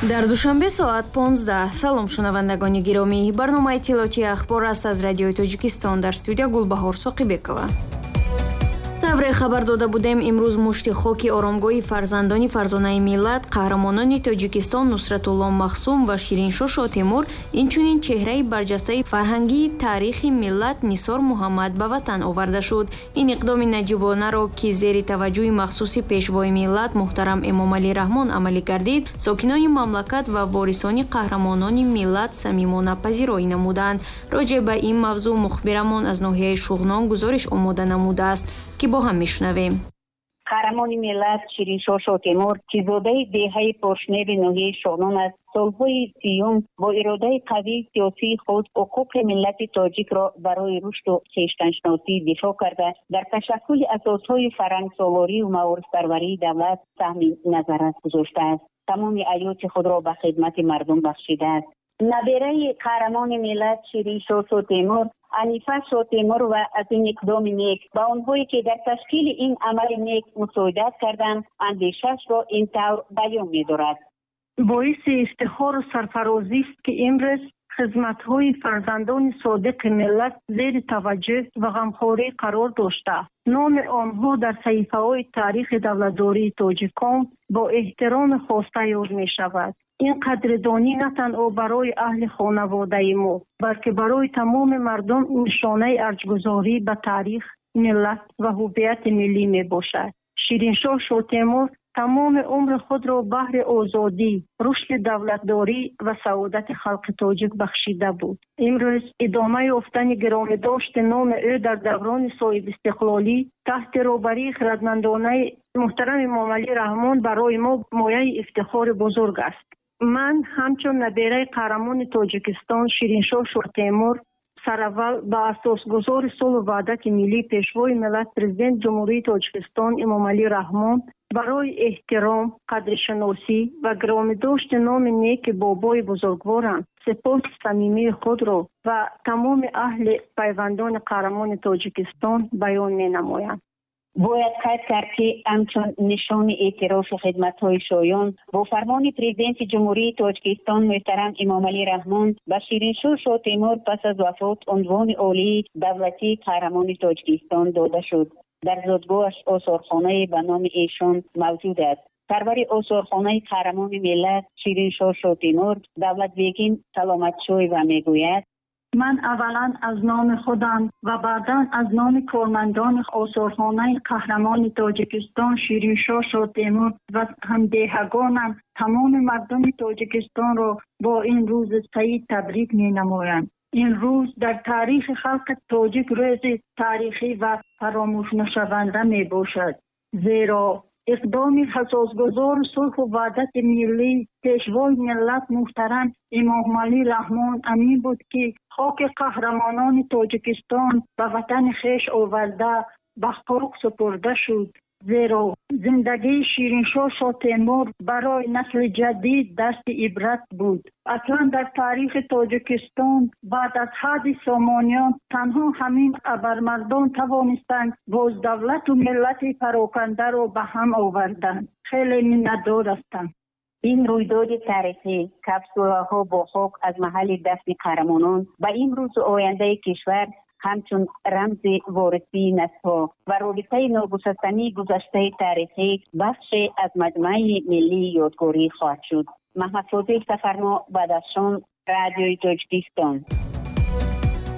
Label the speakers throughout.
Speaker 1: Дар Душанбе соат 15. Салом, шунавандагони гиромӣ. Барномаи иттилоотии «Ахбор» аст аз Радиои Тоҷикистон. Дар студия Гулбаҳор Соқибекова. Тавре хабар дода будем, имрӯз мушти хоки оромгоҳи фарзандони фарзонаи миллат, қаҳрамонони Тоҷикистон Нусратулло Махсум ва Шириншоҳ Шотемур, инчунин чеҳраи барҷастаи фарҳангии таърихи миллат Нисор Муҳаммад ба ватан оварда шуд. Ин иқдоми наҷибонаро, ки зери таваҷҷӯҳи махсуси Пешвои миллат муҳтарам Эмомалӣ Раҳмон амалӣ гардид, сокинони мамлакат ва ворисони қаҳрамонони миллат самимона пазироӣ намуданд. Роҷеъ ба ин мавзӯъ мухбирамон аз ноҳияи Шуғнон гузориш омода намудааст, ки бо ҳам мешунавем.
Speaker 2: Қаҳрамони миллат Шириншоҳ Шотемур, ки зодаи деҳаи Поршневи ноҳияи Шуғнон аст, солҳои 30-юм бо иродаи қавии сиёсии худ ҳуқуқи миллати тоҷикро барои рушду хештаншиносӣ дифоъ карда, дар ташаккули асосҳои фарҳангсолорию маорифпарварии давлат саҳми назаррас гузоштааст. Тамоми ҳаёти худро ба хидмати мардум бахшидааст. Набераи қаҳрамони миллат Шириншоҳ Шотемур, Анифа Шотемурова, аз ин иқдоми нек ба онҳое, ки дар ташкили ин амали нек мусоидат карданд, андешаашро ин тавр баён медорад.
Speaker 3: Боиси ифтихору сарфарозист, ки имрӯз хизматҳои фарзандони содиқи миллат зери таваҷҷӯҳ ва ғамхорӣ қарор дошта, номи онҳо дар саҳифаҳои таърихи давлатдории тоҷикон бо эҳтироми хоса ёд мешавад. Ин қадрдонӣ на танҳо барои аҳли хонаводаи мо, балки барои тамоми мардум нишонаи арҷгузорӣ ба таърих, миллат ва ҳуввияти миллӣ мебошад. Шириншоҳ Шотемур тамоми умри худро баҳри озодӣ, рушди давлатдорӣ ва саодати халқи тоҷик бахшида буд. Имрӯз идома ёфтани гиромидошти номи ӯ дар даврони соҳибистиқлолӣ таҳти роҳбарии хирадмандонаи муҳтарам Эмомалӣ Раҳмон барои мо мояи ифтихори бузург аст. Ман ҳамчун набераи қаҳрамони Тоҷикистон Шириншоҳ Шотемур сараввал ба асосгузори сулҳу ваҳдати миллӣ, Пешвои миллат, Президенти Ҷумҳурии Тоҷикистон Эмомалӣ Раҳмон барои эҳтиром, қадршиносӣ ва гиромидошти номи неки бобои бузургворам сипоси самимии худро ва тамоми аҳли пайвандони қаҳрамони Тоҷикистон баён менамоям.
Speaker 2: Бояд қайд кард, ки ҳамчун нишони эътирофи хидматҳои шоён бо фармони Президенти Ҷумҳурии Тоҷикистон муҳтарам Эмомалӣ Раҳмон ба Шириншоҳ Шотемур пас аз вафот унвони олии давлатии Қаҳрамони Тоҷикистон дода шуд. Дар зодгоҳаш осорхонае ба номи эшон мавҷуд аст. Сарвари осорхонаи қаҳрамони миллат Шириншоҳ Шотемур, Давлатбегим Саломатшоева мегӯяд:
Speaker 4: Ман аввалан аз номи худам ва баъдан аз номи кормандони осорхонаи қаҳрамони Тоҷикистон Шириншоҳ Шотемур ва ҳамдеҳагонам тамоми мардуми Тоҷикистонро бо ин рӯзи саид табрик менамоям. Ин рӯз дар таърихи халқи тоҷик рӯзи таърихӣ ва фаромӯшнашаванда мебошад, зеро иқдоми асосгузори сулҳу ваҳдати миллӣ, Пешвои миллат муҳтарам Эмомалӣ Раҳмон ҳамин буд, ки хоки қаҳрамонони Тоҷикистон ба ватани хеш оварда, ба хок супурда шуд, зеро зиндагии Шириншоҳ Шотемур барои насли ҷадид дарси ибрат буд. Аслан дар таърихи Тоҷикистон баъд аз ҳади Сомониён танҳо ҳамин абармардон тавонистанд боз давлату миллати парокандаро ба ҳам оварданд. Хеле миннатдор ҳастам.
Speaker 2: Ин рӯйдоди таърихӣ, капсулаҳо бо хок аз маҳалли дафни қаҳрамонон, ба имрӯзу ояндаи кишвар ҳамчун рамзи ворисии наслҳо ва робитаи ногусастании гузаштаи таърихӣ бахше аз маҷмӯаи миллии ёдгорӣ хоҳад шуд. Маҳмадфозил Сафармо, Бадахшон, Радиои Тоҷикистон.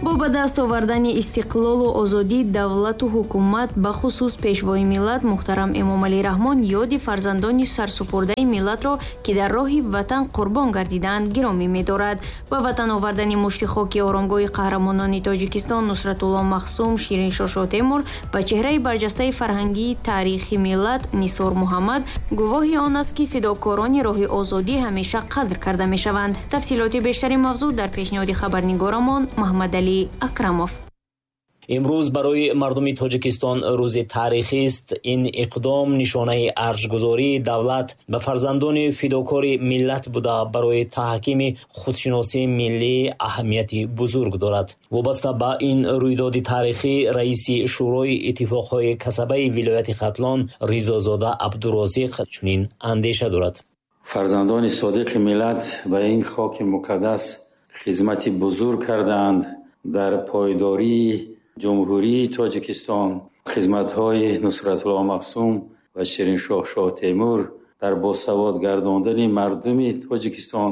Speaker 1: Бо ба даст овардани истиқлолу озодӣ, давлату ҳукумат, бахусус Пешвои миллат муҳтарам Эмомалӣ Раҳмон ёди фарзандони сарсупурдаи миллатро, ки дар роҳи ватан қурбон гардидаанд, гиромӣ медорад. Ба ватан овардани мушти хоки оромгоҳи қаҳрамонони Тоҷикистон Нусратулло Махсум, Шириншоҳ Шотемур ва чеҳраи барҷастаи фарҳангии таърихи миллат Нисор Муҳаммад гувоҳи он аст, ки фидокорони роҳи озодӣ ҳамеша қадр карда мешаванд. Тафсилоти бештари мавзӯъ дар пешниҳоди хабарнигорамон Маҳмадалӣ Акрамов.
Speaker 5: Имрӯз барои мардуми Тоҷикистон рӯзи таърихист. Ин иқдом нишонаи арҷгузории давлат ба фарзандони фидокори миллат буда, барои таҳкими худшиносии миллӣ аҳамияти бузург дорад. Вобаста ба ин рӯйдоди таърихӣ, раиси Шӯрои иттифоқҳои касабаи вилояти Хатлон Ризозода Абдурозиқ чунин андеша дорад.
Speaker 6: Фарзандони содиқи миллат ба ин хоки муқаддас хизмати бузург кардаанд. Дар пойдории Ҷумҳурии Тоҷикистон хизматҳои Нусратулло Махсум ва Шириншоҳ Шоҳтемур, дар босавод гардондани мардуми Тоҷикистон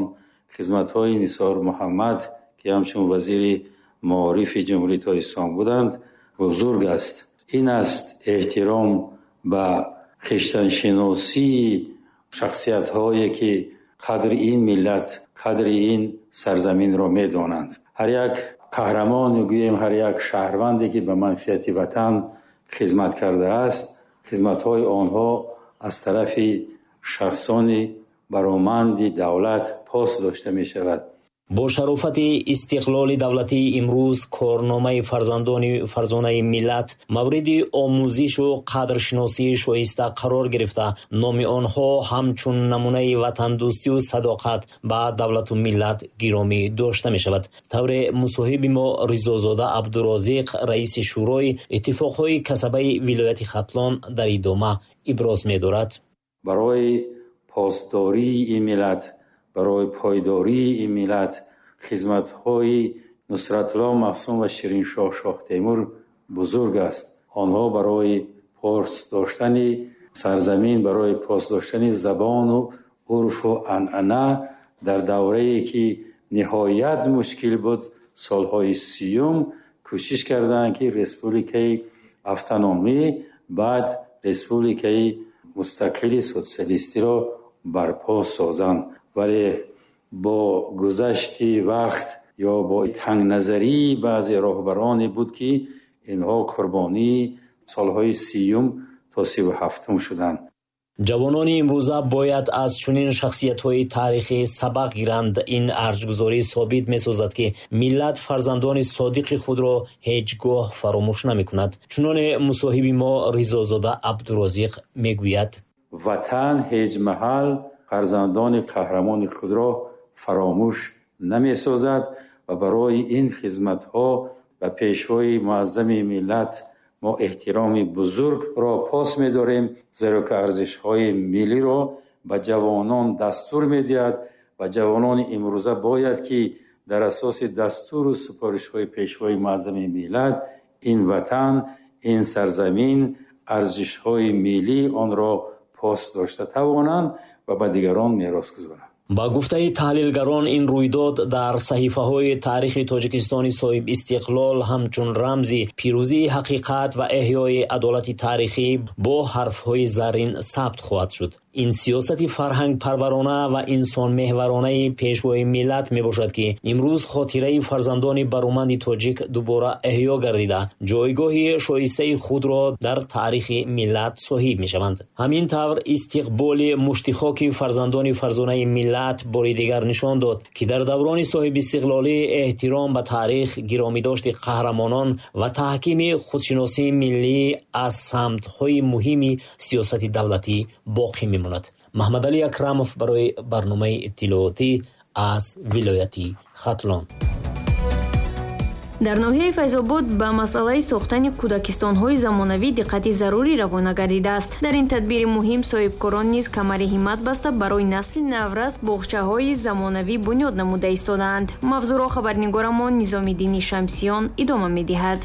Speaker 6: хизматҳои Нисор Муҳаммад, ки ҳамчун вазири маорифи Ҷумҳурии Тоҷикистон буданд, бузург аст. Ин аст эҳтиром ба хештаншиносии шахсиятҳое, ки қадри ин миллат, қадри ин сарзаминро медонанд. Ҳар як қаҳрамон, гӯем, ҳар як шаҳрванде, ки ба манфиати ватан хизмат кардааст, хизматҳои онҳо аз тарафи шахсони бароманди давлат пос дошта мешавад.
Speaker 5: Бо шарофати истиқлоли давлатии имрӯз корномаи фарзандони фарзонаи миллат мавриди омӯзишу қадршиносии шоиста қарор гирифта, номи онҳо ҳамчун намунаи ватандӯстию садоқат ба давлату миллат гиромӣ дошта мешавад. Тавре мусоҳиби мо Ризозода Абдурозиқ, раиси Шӯрои иттифоқҳои касабаи вилояти Хатлон, дар идома иброз медорад.
Speaker 6: Барои посдории ин миллат, барои пойдории ин миллат хизматҳои Нусратулло Махсум ва Шириншоҳ Шоҳтемур бузург аст. Онҳо барои пос доштани сарзамин, барои пос доштани забону урфу анъана дар даврае, ки ниҳоят мушкил буд, солҳои 30-ум, кӯшиш карданд, ки республикаи автономӣ, баъд республикаи мустақили социалистиро барпо созанд. Вале бо гузашти вақт ё бо тангназарии баъзе роҳбароне буд, ки инҳо қурбонии солҳои 30-ум то 37-ум шуданд.
Speaker 5: Ҷавонони имрӯза бояд аз чунин шахсиятҳои таърихӣ сабақ гиранд. Ин арҷгузорӣ собит месозад, ки миллат фарзандони содиқи худро ҳеҷ гоҳ фаромӯш намекунад. Чуноне мусоҳиби мо Ризозода Абдурозиқ мегӯяд:
Speaker 6: ватан ҳеҷ маҳал фарзандони қаҳрамони худро фаромӯш намесозад ва барои ин хизматҳо ба пешвои муаззами миллат мо эҳтироми бузургро пос медорем, зеро ки арзишҳои миллиро ба ҷавонон дастур медиҳад ва ҷавонони имрӯза бояд, ки дар асоси дастуру супоришҳои пешвои муаззами миллат ин ватан, ин сарзамин, арзишҳои миллӣ онро пос дошта тавонанд ва ба дигарон мерос гузоранд.
Speaker 5: Ба гуфтаи таҳлилгарон, ин рӯйдод дар саҳифаҳои таърихи Тоҷикистони соҳибистиқлол ҳамчун рамзи пирӯзии ҳақиқат ва эҳёи адолати таърихӣ бо ҳарфҳои заррин сабт хоҳад шуд. Ин сиёсати фарҳангпарварона ва инсонмеҳваронаи пешвои миллат мебошад, ки имрӯз хотираи фарзандони бароманди тоҷик дубора эҳё гардида, ҷойгоҳи шоистаи худро дар таърихи миллат соҳиб мешаванд. Ҳамин тавр, истиқболи муштихоки фарзандони фарзонаи миллат бори дигар нишон дод, ки дар даврони соҳибистиқлолӣ эҳтиром ба таърих, гиромидошти қаҳрамонон ва таҳкими худшиносии миллӣ аз самтҳои муҳими сиёсати давлатӣ боқӣ мемонад. Маҳмадалӣ Акрамов барои барномаи иттилоотӣ аз вилояти Хатлон.
Speaker 1: Дар ноҳияи Файзобод ба масъалаи сохтани кӯдакистонҳои замонавӣ диққати зарурӣ равона гардидааст. Дар ин тадбири муҳим соҳибкорон низ камари ҳиммат баста, барои насли наврас боғчаҳои замонавӣ бунёд намуда истодаанд. Мавзӯъро хабарнигорамон Низомиддини Шамсиён идома медиҳад.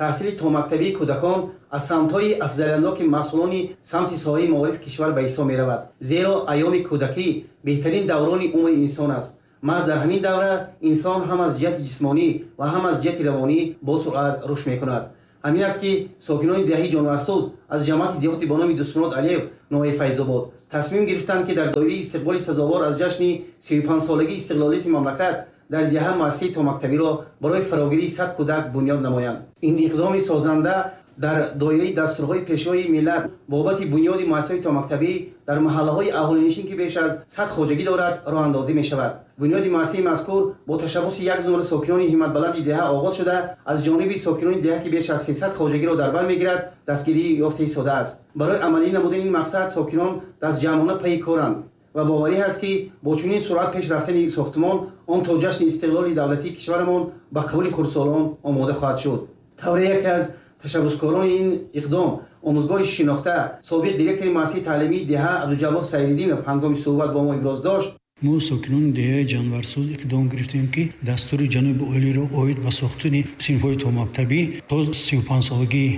Speaker 7: Таҳсили томактабии кӯдакон аз самтҳои афзалиятноки масъулони самти соҳаи маорифи кишвар ба ҳисоб меравад, зеро айёми кӯдакӣ беҳтарин даврони умри инсон аст. Маҳз дар ҳамин давра инсон ҳам аз ҷиҳати ҷисмонӣ ва ҳам аз ҷиҳати равонӣ бо суръат рушд мекунад. Ҳамин аст, ки сокинони деҳаи Ҷонварсӯз аз ҷамоати деҳоти бо номи Дустмурод Алиев, ноҳияи Файзобод, тасмим гирифтанд, ки дар доираи истиқболи сазовор аз ҷашни 35-солагии истиқлолияти мамлакат дар деҳа муассисаи томактабиро барои фарогирии 100 кӯдак бунёд намоянд. Ин иқдоми созанда Дар доираи дастурҳои Пешвои миллат бобати бунёди муассисаҳои томактабӣ дар маҳаллаҳои аҳолинишин, ки беш аз 100 хоҷагӣ дорад, роҳандозӣ мешавад. Бунёди муассисаи мазкур бо ташаббуси як зумра сокинони ҳимматбаланди деҳа оғоз шуда, аз ҷониби сокинони деҳа, ки беш аз 300 хоҷагиро дар бар мегирад, дастгирӣ ёфта истодааст. Барои амалӣ намудани ин мақсад сокинон дастҷамъона пайи коранд ва боварӣ ҳаст, ки бо чунин суръат пеш рафтани сохтмон он то ҷашни истиқлоли давлатии кишварамон ба қабули хурдсолон омода хоҳад шуд. Тавре яке аз ташаббускорони ин иқдом, омӯзгори шинохта, собиқ директори муассисаи таълимии деҳа Абдуҷаббор Сайриддинов ҳангоми суҳбат бо мо иброз дошт:
Speaker 8: Мо, сокинони деҳаи Ҷанварсоз, иқдом гирифтем, ки дастури ҷаноби олиро оид ба сохтани синфҳои томактабӣ то 35-солагии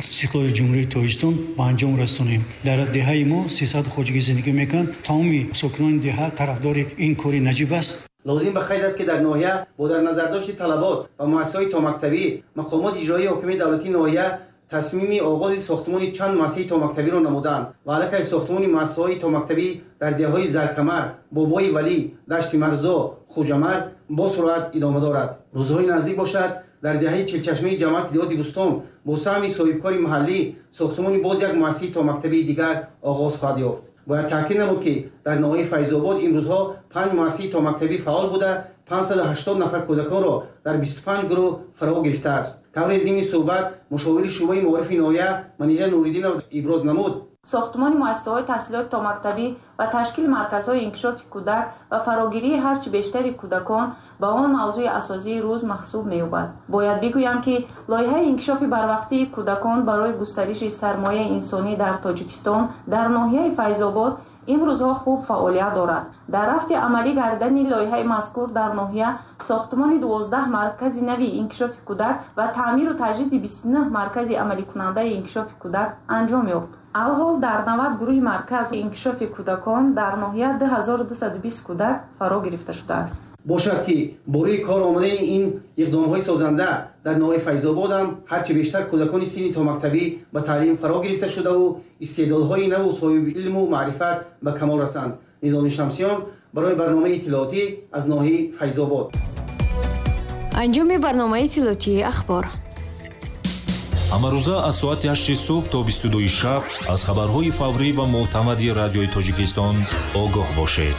Speaker 8: истиқлоли Ҷумҳурии Тоҷикистон ба анҷом расонем. Дар деҳаи мо 300 хоҷагӣ зиндагӣ мекунанд. Тамоми сокинони деҳа тарафдори ин кори наҷиб аст.
Speaker 7: Лозим ба қайд аст, ки дар ноҳия бо дар назардошти талабот ба муассисаҳои томактабӣ мақомоти иҷроии ҳокимияти давлатии ноҳия тасмими оғози сохтмони чанд муассисаи томактабиро намуданд ва аллакай сохтмони муассисаҳои томактабӣ дар деҳаҳои Заркамар, Бобои Валӣ, Дашти Марзо, Хуҷамар бо суръат идома дорад. Рӯзҳои наздик бошад, дар деҳаи Чилчашмаи ҷамоати деҳоти Бӯстон бо саҳми соҳибкори маҳаллӣ сохтмони боз як муассисаи томактабии дигар оғоз хоҳад ёфт. Бояд таъкид намуд, ки дар ноҳияи Файзобод имрӯзҳо 5 муассисаи томактабӣ фаъол буда, 580 нафар кӯдаконро дар 25 гурӯҳ фаро гирифтааст. Тавре зимни суҳбат мушовири шӯъбаи маорифи ноҳия Манижа Нуриддинов иброз намуд:
Speaker 9: Сохтмони муассисаҳои таҳсилоти томактабӣ ва ташкили марказҳои инкишофи кӯдак ва фарогирии ҳарчи бештари кӯдакон ба он мавзӯи асосии рӯз маҳсуб меёбад. Бояд бигӯям, ки лоиҳаи инкишофи барвақтии кӯдакон барои густариши сармояи инсонӣ дар Тоҷикистон дар ноҳияи Файзобод имрӯзҳо хуб фаъолият дорад. Дар рафти амалӣ гардани лоиҳаи мазкур дар ноҳия сохтмони 12 маркази нави инкишофи кӯдак ва таъмиру таҷдиди 29 маркази амаликунандаи инкишофи кӯдак анҷом ёфт. Алҳол дар 90 гурӯҳи маркази инкишофи кӯдакон дар ноҳия 2220 кӯдак фаро гирифта шудааст.
Speaker 7: Бошад, ки бо рӯи кор омадани ин иқдомҳои созанда дар ноҳияи Файзобод ҳам ҳарчи бештар кӯдакони синни томактабӣ ба таълим фаро гирифта шудаву истеъдодҳои наву соҳиби илму маърифат ба камол расанд. Низоми Шамсиён барои барномаи иттилоотӣ аз ноҳияи Файзобод.
Speaker 1: Анҷоми барномаи иттилоотии ахбор.
Speaker 10: Ҳамарӯза аз соати 8 субҳ то 22 шаб аз хабарҳои фаврӣ ва мӯътамади Радиои Тоҷикистон огоҳ бошед.